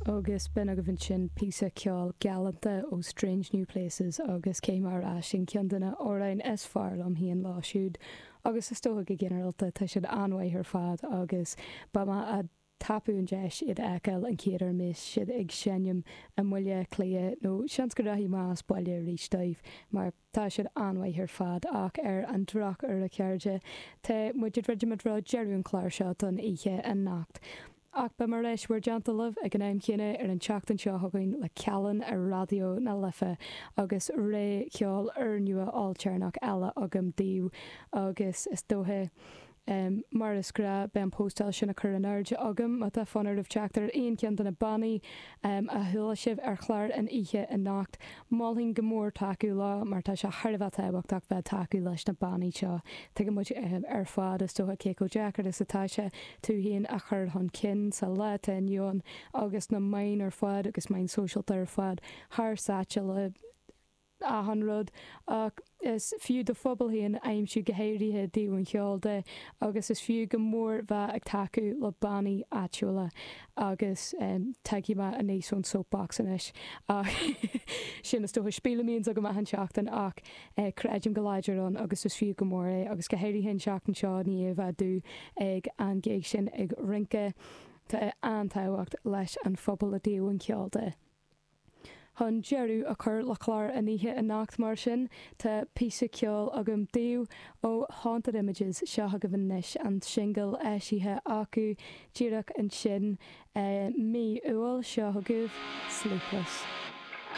Agus b'in agaibh ansin píosa ceoil galánta ó Strange New Places agus caithfidh mé a rá sin ceann de na hamhráin is fearr liom féin leo siúd agus is dócha go ginearálta tá siad an-mhaith ar fad agus beidh mé ag tapú an deis iad a fheiceáil an chéad uair a mbeas siad ag seinm i mBaile Átha Cliath nó seans go rachaidh mé as baile arís dóibh mar Tá siad an-mhaith ar fad ach ar an drochuair a chairde, tá muid ag druidim i dtreo deireadh an chláir seo don oíche anocht. Ach beidh mé ar ais bhur dteannta libh ag an am chéanna ar an tseachtain seo chugainn le Callan ar Raidió na Life agus rogha cheoil úrnua ailtéarnach eile agam daoibh agus is dócha Mar is gnáth, beidh an póstáil sin á cur in airde agam má tá fonn oraibh teacht ar aon cheann de na bannaí a chuala sibh ar chlár an oíche anocht. Mholfainn go mór tacú leo mar tá sé thar a bheith tábhachtach bheith ag tacú leis na bannaí seo. Tuigeann muid ar fad, is dócha, cé chomh deacair is atá sé tú féin a chur chun cinn sa lá atá inniu ann agus na meáin ar fad agus meáin sóisialta ar fad thar sáite le achan rud ach is fiú do phobal féin a aimsiú go háirithe i dtaobh an cheoil de agus is fiú go mór bheith ag tacú le bannaí áitiúla agus tiocfaidh mé aníos ón soapbox anois ach sin is dócha spiel a mbíonns agam achan seachtain ach creidim go láidir ann agus is fiú go mór é agus go háirithe an tseachtain seo i ndiaidh a bheith dubh ag an gig sin ag rince tá an-tábhacht leis an phobal i dtaobh an cheoil de. Chun deireadh a chur le clár an oíche anocht mar sin, tá píosa ceoil agam daoibh ó Haunted Images, seo agaibh anois an singil eisithe acu díreach ansin i mí Iúil, seo agaibh Sleepless.